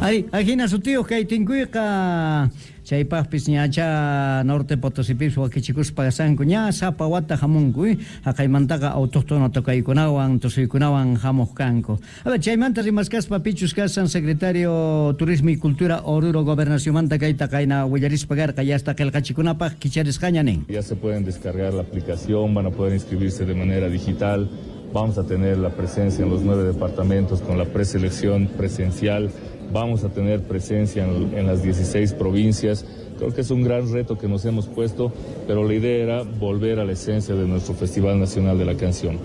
Ay, ajina sutiyuq kay tinkuyqa chaypaqpis ñacha Norte Potosipis wakichikuspa kasanku ña sapa wata hamunku haqaymantaqa autóctono tocaykunawan tusuykunawan hamuq kanku. A ver, chaymanta rimaskaspa pichus kasan secretario Turismo y Cultura Oruro Gobernacionmanta kayta qayna willarispa karqa ya hasta qillqachikunapaq kicharisqaña nin. Ya se pueden descargar la aplicación, van a poder inscribirse de manera digital. Vamos a tener la presencia en los 9 departamentos con la preselección presencial. Vamos a tener presencia en las 16 provincias. Creo que es un gran reto que nos hemos puesto, pero la idea era volver a la esencia de nuestro Festival Nacional de la Canción.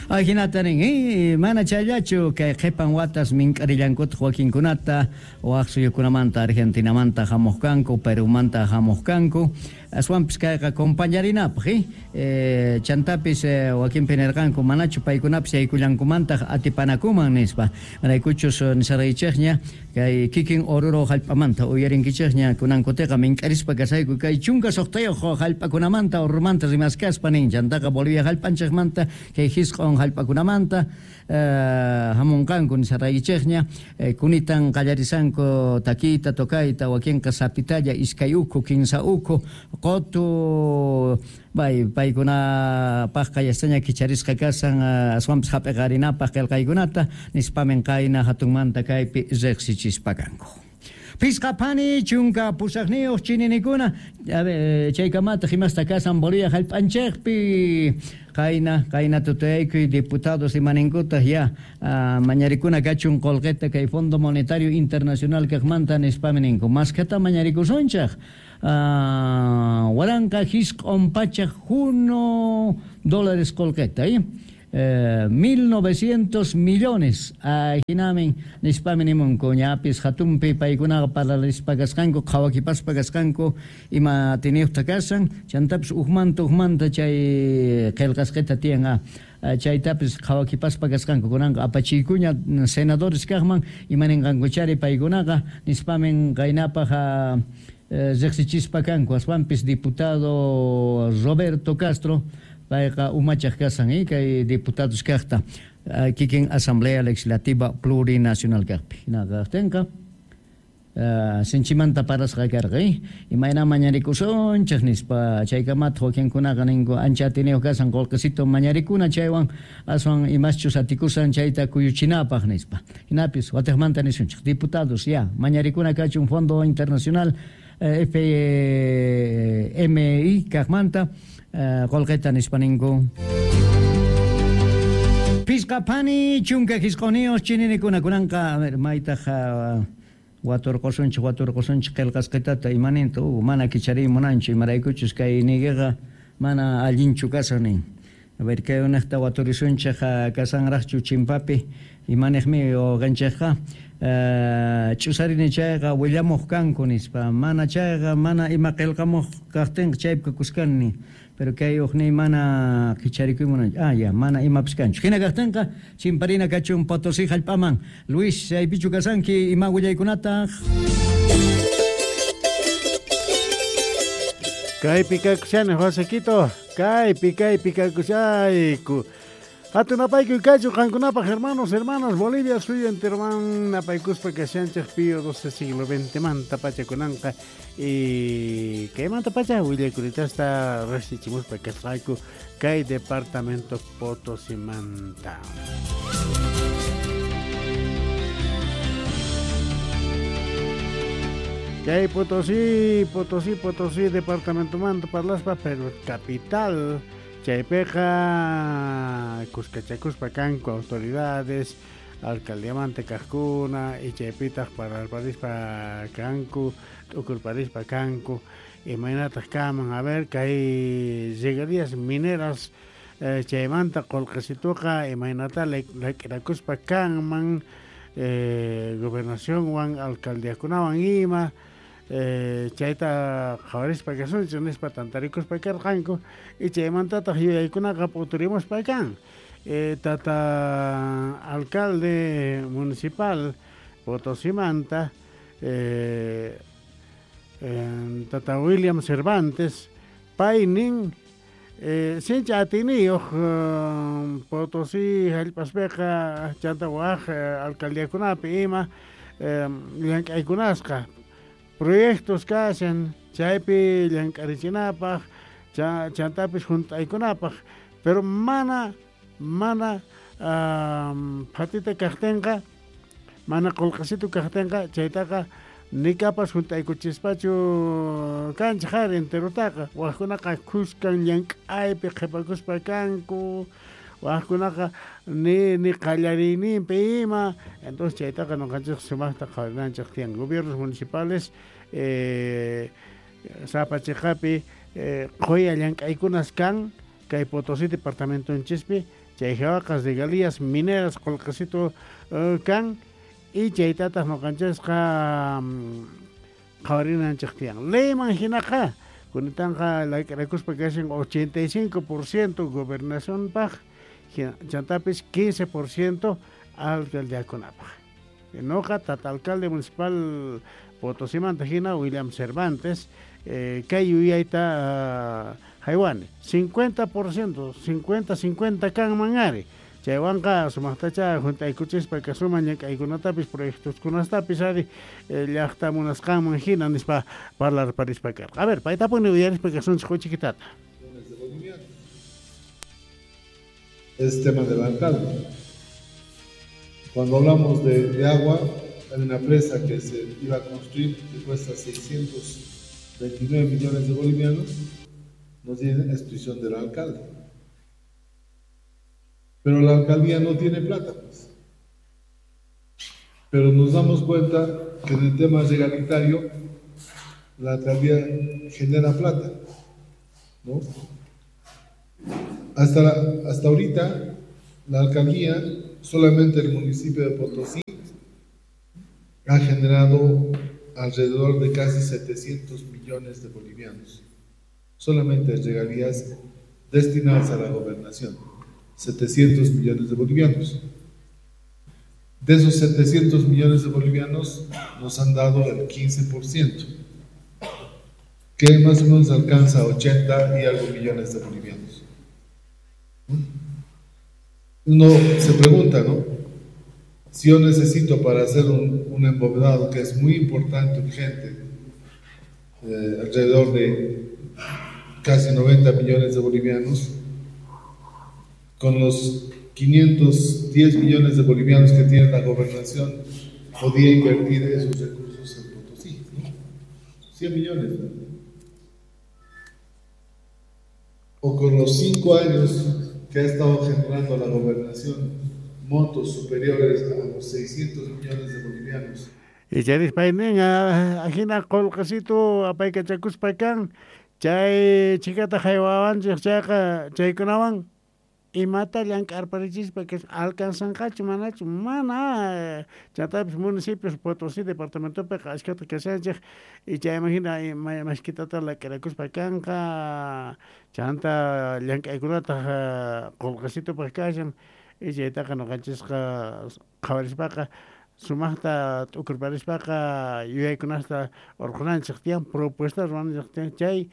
Ajinata nin, mana chayllachu kay qhipan watas mink'arillankutaq wakinkunata waq suyukunamanta Argentinamanta hamuq kanku, Perumanta hamuq kanku, aswanpis kayqa compañarinapaq, chantapis wakinpi nirqanku manachu paykunapis yaykullankumantaq atipanakuman nispa. Maraykuchus nisaraychikña kay kikin Oruro hallp'amanta uyarinkichikña kunankutiqa mink'arispa kasayku kay 16 hallp'akunamanta Oruromanta rimaskaspa nin, chantaqa Bolivia hallp'anchikmanta kay hisq'un hallp'akunamanta hamunqanku nisaraychikña kunitan qallarisanku takiyta tocayta wakinqa sapitalla iskay ukhu kinsa ukhu qotu bay paykunapaqqa yastaña kicharisqa kasan aswanpis hap'iqarinapaq qillqaykunata nispamin qayna hatunmanta kaypi riqsichispa kanku. Pisqa phani 18 chininikuna, a ver, chaykamataq imasta kasan Bolivia hallp'anchikpi qayna qayna tutayaykuy diputados imaninkutaq ya mañarikuna kachun qullqita kay Fondo Monetario Internacional kaqmanta nispami ninku maskhata mañarikusunchaq 1901 dólares qullqita, 1900 millones ajinamin nispami nimunku ñapis hatunpi paykunaqa parlarispa kasqanku qhawakipaspa kasqanku ima tiniyuqta kasan chantapis ujmanta ujmanta chay qillqasqita tiyan chaytapis qhawakipaspa kasqanku kunanqa apachiykuña senadores kaqman imaninqankuchari paykunaqa nispamin qaynapaq riqsichispa kanku aswanpis diputado Roberto Castro payqa umachaq kasan kay diputados kaqta kikin Asamblea Legislativa Plurinacional kaqpi hinaqa kaqtinqa sinchimanta parasqa karqa imayna mañarikusunchik nispa chaykamataq wakinkunaqa ninku ancha atiniyuq kasan qullqisito mañarikuna chaywan aswan imaschus atikusan chayta kuyuchinapaq nispa hinapis watiqmanta nisunchik diputados ya mañarikuna kachun Fondo Internacional FMI kaqmanta qullqita nispa ninku. Pisqa phani 19 chininikuna kunanqa a ver maytaq waturqusunchik waturqusunchik qillqasqitata imaninta mana kichariy munanchu imaraykuchus kay niykiqa mana allinchu kasan nin. A ver kay unaqta waturisunchik kasanraqchu chimpapi imaniqmi wawqanchikqa ch'usarini chayqa willamuq kanku nispa mana chayqa mana ima qillqamuq kaqtinqa chaypi kuskani pero kay uqniy mana kicharikuy munanchu ya mana imapis kanchu hina kaqtinqa chimparina kachun Potosí hallp'aman Luis chaypichu kasanki ima willaykunataq Kaypi kakushani Josequito kaypi kaypi kakushayku Hatunapaykuy kachu qankunapaq hermanos, hermanas, Bolivia suyu enteroman napaykuspa kashanchik Pío XII siglo XX manta pacha kunanqa y kaymanta pacha willakuritasta riqsichimuspa kasqayku kay departamento Potosimanta. Kay Potosí, Potosí, Potosí departamentomanta parlaspa, pero capital chaypiqa kuskachakuspa kanku autoridades, alcaldiamanta kaqkuna y chaypitaq parlarparispa kanku, t'ukurparispa kanku, imaynataq kaman, a ver, kay regalías mineras chaymanta qullqisituqa imaynata lak'irakuspa kanman gobernacionwan alcaldiakunawan ima chayta qhawarispa kasunchik nispa tantarikuspa karqanku y chaymantataq yuyaykunaqa p'uturimuspa kan tata alcalde municipal Potosimanta tata William Cervantes pay nin sincha atiniyuq Potosí hallp'aspiqa chanta waq alcaldiakunapi ima llank'aykunasqa proyectos kashan chaypi llank'arichinapaq chantapis junt'aykunapaq pero mana phatita kaqtinqa mana qullqisitu kaqtinqa chaytaqa nikapas junt'aykuchispachu kanchik ari enterutaqa waqkunaqa khuskan llank'aypi qhipakuspa kanku waqkunaqa ni qallariyninpi ima entonces chaytaqa nuqanchik sumaqta qhawarinanchik tiyan gobiernos municipales sapa chiqapi qhuya llank'aykunas kan kay Potosí departamentonchispi chay hawaqa regalías mineras qullqisitu kan y chaytataq nuqanchisqa qhawarinanchik tiyan leyman hinaqa kunitanqa lak'irakuspa kashan 85% gobernacionpaq chantapis 15% alcaldiakunapaq nuqa tata alcalde municipal Potosimanta hina William Cervantes kay yuyayta haywani 50% 50-50 kanman ari chaywanqa sumaqtacha junt'aykuchispa kasuman llank'aykunatapis proyectoskunastapis ari llaqta munasqanman hina nispa parlarparispa karqa. A ver, paytapuni uyarispa kasunchik huchikitata. Es tema del alcalde. Cuando hablamos de agua, hay una presa que se iba a construir que cuesta 629 millones de bolivianos, nos dicen es prisión del alcalde. Pero la alcaldía no tiene plata, pues. Pero nos damos cuenta que en el tema regalitario la alcaldía genera plata, ¿no? Hasta ahorita la alcaldía, solamente el municipio de Potosí, ha generado alrededor de casi 700 millones de bolivianos, solamente regalías destinadas a la gobernación, 700 millones de bolivianos. De esos 700 millones de bolivianos nos han dado el 15%, que más o menos alcanza 80 y algo millones de bolivianos. Uno se pregunta, ¿no? Si yo necesito para hacer un embovedado que es muy importante, urgente, alrededor de casi 90 millones de bolivianos, con los 510 millones de bolivianos que tiene la gobernación, podía invertir esos recursos en Potosí, ¿no? 100 millones, ¿no? O con los 5 años que ha estado generando la gobernación, montos superiores a los 600 millones de bolivianos. Y charispaynin ajina qullqisitu apaykachakuspa kan chay chikata haywawanchik chayqa chaykunawan imata llank'arparichispa que alcanzanqachu manachu mana chantapis municipios Potosí departamentopiqa ashkata kashanchik y chayman hina mashkitata lak'irakuspa kanqa chanta llank'aykunataq qullqisitupaq kashan y chaytaqa nuqanchisqa qhawarispaqa sumaqta t'ukurparispaqa yuyaykunasta urqunanchik tiyan propuesta ruwananchik tiyan chay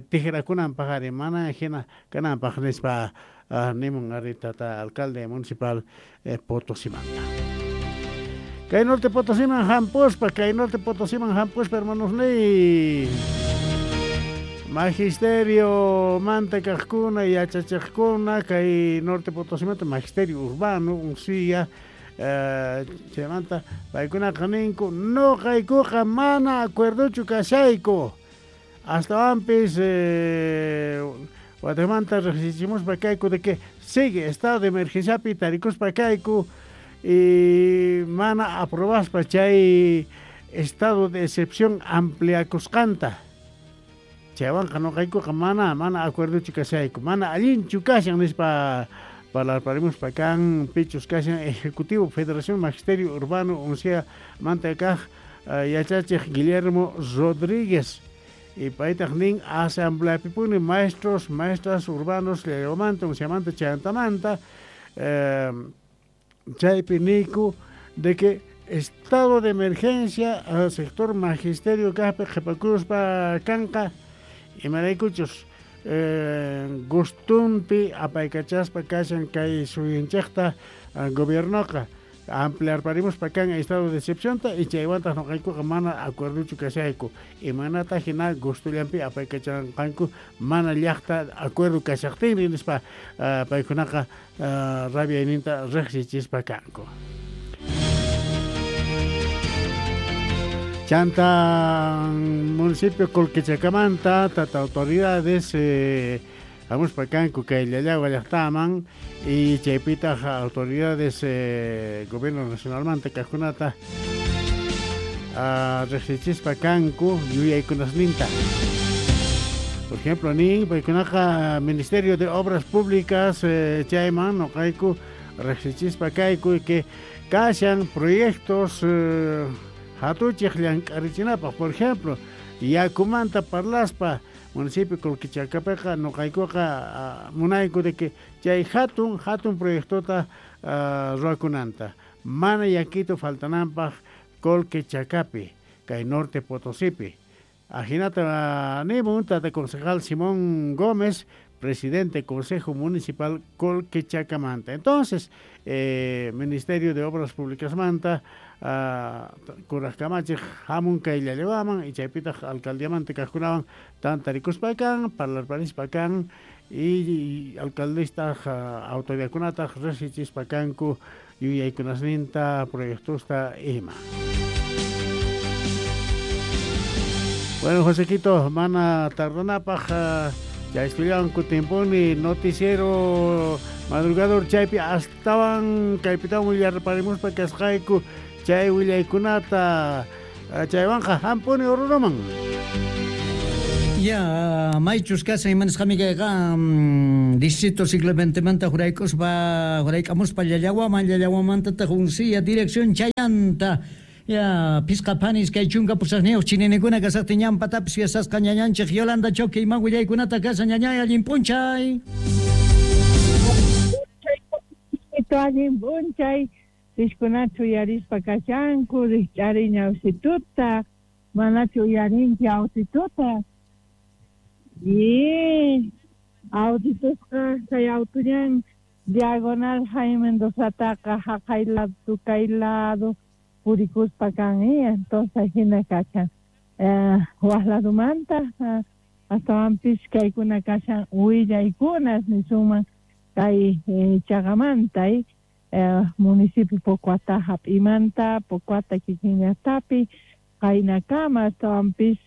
tijrakunanpaq ari mana hina kananpaq nispa nimun ari tata alcalde municipal Potosimanta. Kay norte Potosiman hampuspa, kay norte Potosiman hampuspa hermanos ni magisterio manta kaqkuna yachachiqkuna kay norte Potosimanta magisterio urbano unsilla chaymanta paykunaqa ninku nuqaykuqa mana acuerdochu kashayku astawanpis watimanta riqsichimuspa kayku de que sigue estado de emergenciapi tarikuspa kayku y mana aprobaspa chay estado de excepción ampliakusqanta chaywanqa nuqaykuqa mana acuerdochu kashayku mana allinchu kashan nispa parlarparimuspa kan pichus kashan Ejecutivo Federación Magisterio Urbano uncia manta kaq yachachiq Guillermo Rodríguez y paytaq nin asambleapipuni maestros, maestras urbanos llaymanta unciamanta chayantamanta chaypi niku de que estado de emergencia al sector magisterio kaqpi qhipakuspa kanqa imaraykuchus gustunpi apaykachaspa kashan kay suyunchikta gobiernoqa Ampliarparimuspa kan estado de excepción y chaywantaq nuqaykuqa mana acuerdochu kashayku imanata hina gustullanpi apaykachanqanku mana llaqta acuerdo kashaqtinri nispa paykunaqa rabiayninta riqsichispa kanku. Chanta municipio Colquechacamanta tata autoridades hamuspa kanku kay Llallagua llaqtaman y chaypitaq autoridades gobierno nacionalmanta kaqkunata riqsichispa kanku yuyaykunasninta. Por ejemplo, nin paykunaqa Ministerio de Obras Públicas chayman nuqayku riqsichispa kayku que kashan proyectos hatuchiq llank'arichinapaq. Por ejemplo, yakumanta parlaspa municipio Colquechacapiqa nuqaykuqa munayku de que chay hatun proyectota ruwakunanta mana yakito faltananpaq Colquechacapi kay Norte Potosipi. Ajinata nimun tata concejal Simón Gómez, presidente Consejo Municipal Colquechacamanta. Entonces, Ministerio de Obras Públicas manta kurajkamachiq hamun kay Llallawaman y chaypitaq alcaldiamanta kaqkunawan tantarikuspa kan, parlarparispa kan y alcaldistaq autoridadkunataq riqsichispa kanku yuyaykunasninta proyectosta ima. Bueno, Josequito, mana tardanapaq ya estudianku tiemponi noticiero madrugador chaypi astawan kaypitawan willarparimuspa kasqayku chay willaykunata chaywanqa hampuni Oruroman. Ya, maychus kashan imanisqami kayqa distrito siglo XX huraykuspa hurayk'amuspa Llallawaman Llallawamantataq Uncía dirección chayanta. Ya, pisqa panis kay chunka pusaqniyuq chininikuna kasaqtin ñanpatapis yasasqa ñañanchik Yolanda Choque iman willaykunata kashan ñañay allin p'unchay. Allin p'unchay piskunachu uyarispa kashanku rikch'ari ñawsituta manachu uyarinki autituta y autitusqa kay autuñan diagonal Jaime Mendozataqa haqay lado tukay lado purikuspa kan entonces hina kashan waq ladumanta astawanpis kaykuna kashan willaykunas nisunman kay chaqamanta municipio Pocoata hap'imanta Pocoata kikin llaqtapi qaynakama astawanpis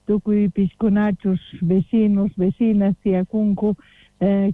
tukuy piskunachus vecinos vecinas tiyakunku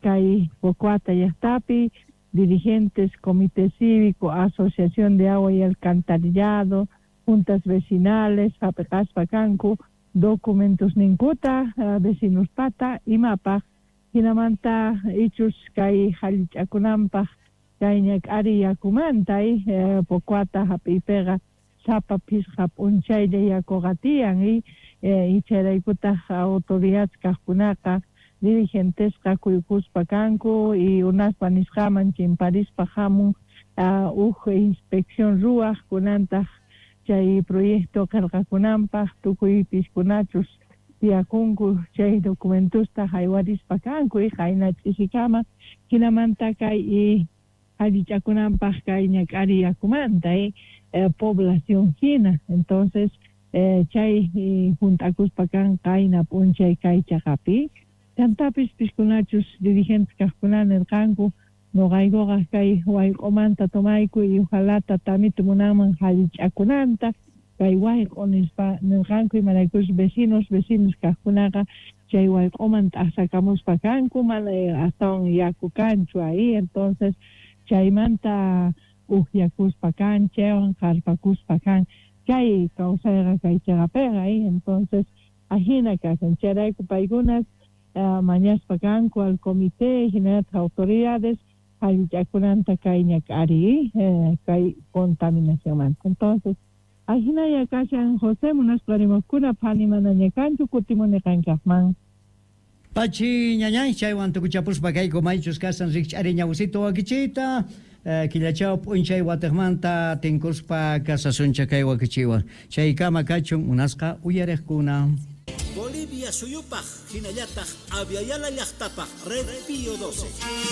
kay Pocoata llaqtapi dirigentes, comité cívico, asociación de agua y alcantarillado, juntas vecinales, hap'ispa kanku, documentos ninkuta, vecinos pata, imapaq, hinamanta ichus kay hallich'akunanpaq kay ñak'ari yakumanta Pocoata hap'iypiqa sapa phisqa p'unchaylla yakuqa tiyan y chayraykutaq autoridades kaqkunaqa dirigentesqa kuykuspa kanku y unaspa nisqaman chimparispa hamun uj inspección ruwaq kunantaq chay proyecto qillqakunanpaq tukuy piskunachus tiyakunku chay documentosta haywarispa kanku y qayna ch'isikama hinamanta kay allich'akunanpaq kay ñak'ari yakumanta población hina. Entonces chay hunt'akuspa kan qayna p'unchay kay chaqapi. Chantapis piskunachus dirigentes kaqkuna nirqanku nuqaykuqa kay wayq'umanta tomayku y ojalá tamitu munanman hallich'akunanta kay wayq'u nispa nirqanku imaraykus vecinos vecinos kaqkunaqa chay wayq'uman t'aqsakamuspa kanku mana astawan yaku kanchu ahí. Entonces chaymanta upyakuspa kan chaywan qarpakuspa kan chay kawsayqa kay chaqapiqa. Entonces ajina kashan chayrayku paykunas mañaspa kanku al comité hinallataq autoridades allich'akunanta kay ñak'ari kay contaminacionmanta. Entonces ajinaya kashan José munaspa rimaqkuna phani manaña kanchu kutimuni qankaqman. Pachi ñañay chaywan tukuchapuspa kayku maychus kashan rikch'ari ñawsito wakichiyta killachaw p'unchay watiqmanta tinkuspa kasasuncha kay wakichiwan chaykama kachun munasqa uyariqkuna. Bolivia suyupaq hinallataq Aviala llaqtapaq Red Pío 12.